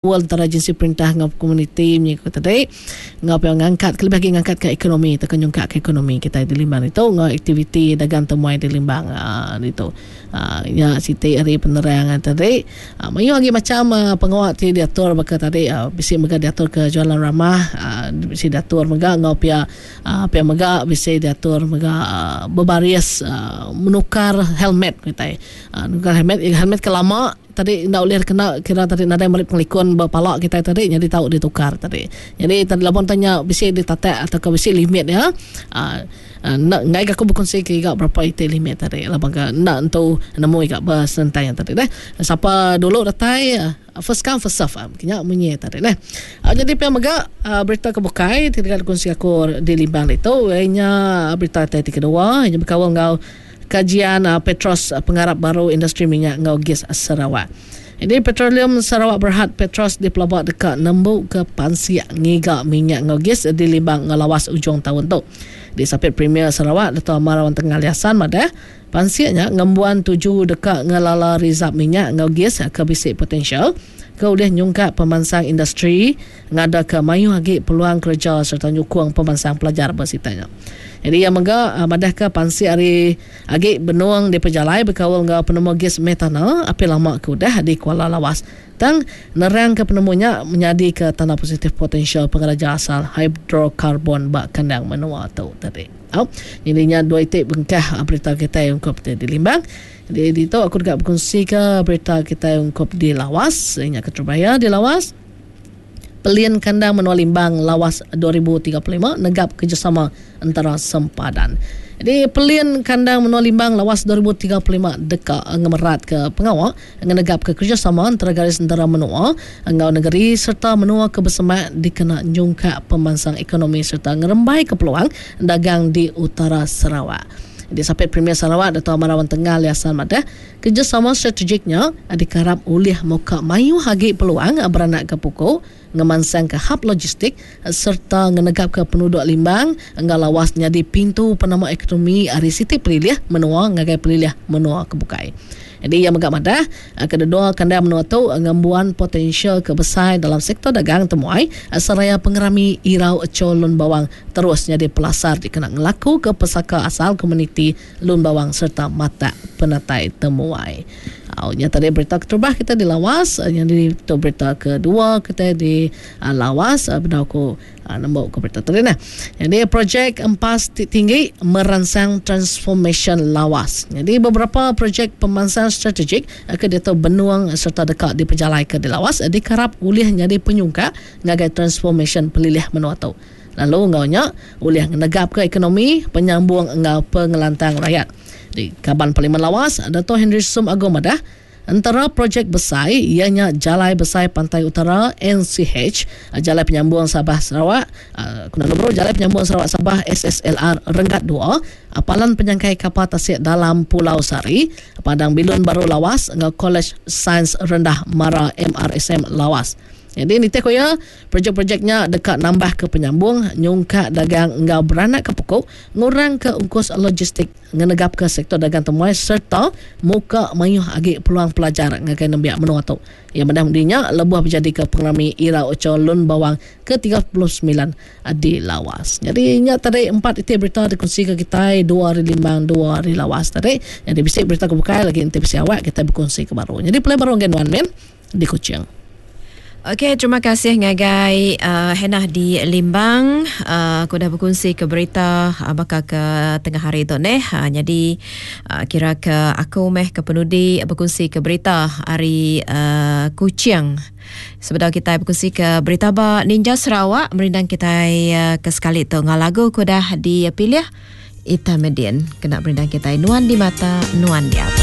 Kaul entara agensi perintah enggau komuniti munyi ku tadi enggau pia ngangkat kelebih agi ngangkatka ekonomi tauka nyungkakka ekonomi kitai di Limbang ditu enggau aktiviti dagang temuai di Limbang aaa ditu. Aaa nya siti ari penerang tadi. Aaa mayuh agi macham pengawa ti diatur baka tadi bisi mega diatur ke jualan ramah aaa bisi diatur mega enggau pia aaa pia mega bisi diatur mega aaa bebaris aaa menukar helmet kitai. Aaa nukar helmet, helmet ke lama. Tadi enda ulih kena kira tadi nadai meri pengelikun ba pala kitai tadi nyadi tau ditukar tadi. Nyadi tadi laban tanya nya bisi ditatak atau bisi limit iya uhh enda enggai ka aku bekunsi ke iga berapa iti limit tadi laban ka enda entu nemu iga ba senentang tadi deh. Sapa dulu datai first come first serve nya munyi tadi deh. Nyadi pia mega berita ke bukai ti deka dikunsi aku di Limbang ditu iya nya berita ti kedua iya nya bekaul enggau Kajian Petros Pengarap Baru Industri Minyak enggau Gis Sarawak. Ini Petroleum Sarawak Berhad Petros dipelaba deka nembuka pansik ngiga minyak enggau gis di Limbang enggau Lawas ujung taun tu. Disapit Premier Sarawak Datuk Amar Awang Tengah Ali Hasan madah, pansik nya ngembuan tuju deka ngelala rizab minyak enggau gis ke bisi potensial ke ulih nyungkak pemansang industri ngadaka mayuh agi peluang kereja sereta nyukung pemansang pelajar ba sitak nya. Nyadi iya mega madahka pansik ari agi benung dipejalai bekaul enggau penemu gis metana api lama ke udah di Kuala Lawas. Tang nerangka penemu nya menyadika tanda positif potensial pengeraja asal hidrokarbon ba kandang menua tu tadi. Au, nyadi nya dua iti bengkah berita kitai ungkup ti dilimbang. Jadi ditu aku deka bekunsika berita kitai ungkup di Lawas, nya keterubah iya di Lawas. Pelin Kandang Menua Limbang Lawas 2035 negap kerejasama entara sempadan. Jadi Pelin Kandang Menua Limbang Lawas 2035 deka ngemeratka pengawa ngenegapka kerejasama entara garis entara menua enggau nengeri sereta menua ke besemak dikena nyungkak pemansang ekonomi sereta ngerembaika peluang dagang di utara Sarawak. Disapit Premier Sarawak Datuk Amar Awang Tengah Ali Hasan madah, Kerejasama strategik nya dikarap ulih muka mayuh agi peluang beranakka puku, ngemansangka hab logistik sereta ngenegapka penuduk Limbang enggau Lawas nyadi pintu penama ekonomi ari siti pelilih menua ngagai pelilih menua ke bukai. Nyadi iya mega madah, kededua kandang menua tu ngembuan potensial ke besai dalam sektor dagang temuai seraya pengerami Irau Cho Lun Bawang terus nyadi pelasar dikena ngelakuka pesaka asal komuniti Lun Bawang sereta matak penatai temuai. Au nya tadi berita keterubah kita di Lawas, nyadi tu berita kedua kita di Lawas bedau ku nembu ku berita tadi nah. Nyadi projek empas ti tinggi meransang transformasyen Lawas. Nyadi beberapa projek pemansang strategik ke diatu benung sereta deka dipejalaika di Lawas dikarap ulih nyadi penyungkak ngagai transformasyen pelilih menua tu. Lalu enggau nya ulih ngenegapka ekonomi, penyambung enggau pengelantang rayat. Di Kaban Parlimen Lawas, Dato Henry Sum Agong madah, entara projek besai iya nya Jalai Besai Pantai Utara, NCH, Jalai Penyambung Sabah Sarawak, ku nama baru Jalai Penyambung Sarawak Sabah, SSLR, Renggat dua, Palan Penyangkai Kapal Tasik Dalam Pulau Sari, Padang Bilun Baru Lawas enggau Kolej Sains Rendah Mara MRSM Lawas. Nyadi nitih ku iya, projek-projek nya deka nambahka penyambung, nyungkak dagang enggau beranakka puku, ngurangka ungkus logistik, ngenegapka sektor dagang temuai sereta muka mayuh agi peluang pelajar ngagai nembiak menua tu. Iya madah medi nya lebuh bejadika pengerami Irau Ocho Lun Bawang ke 39 di Lawas. Nyadi nya tadi empat iti berita dikunsika kitai dua ari Limbang dua ari Lawas tadi. Nyadi bisi berita ke bukai lagi enti bisi awak kitai bekunsika baru. Nyadi pulai baru ngagai nuan min. Di Kuching. Okey, terima kasih ngagai uh, Hannah di Limbang. Uh, aku dah berkongsi ke berita uh, baka ke tengah hari tu neh. Uh, jadi uh, kira ke aku meh ke penudi berkongsi ke berita hari uh, Kuching. Sebedau kita berkongsi ke berita ba Ninja Sarawak, merindang kita uh, ke sekali tu ngau lagu ku dah dipilih Ita Medin kena merindang kita Nuan di Mata, Nuan di Ati.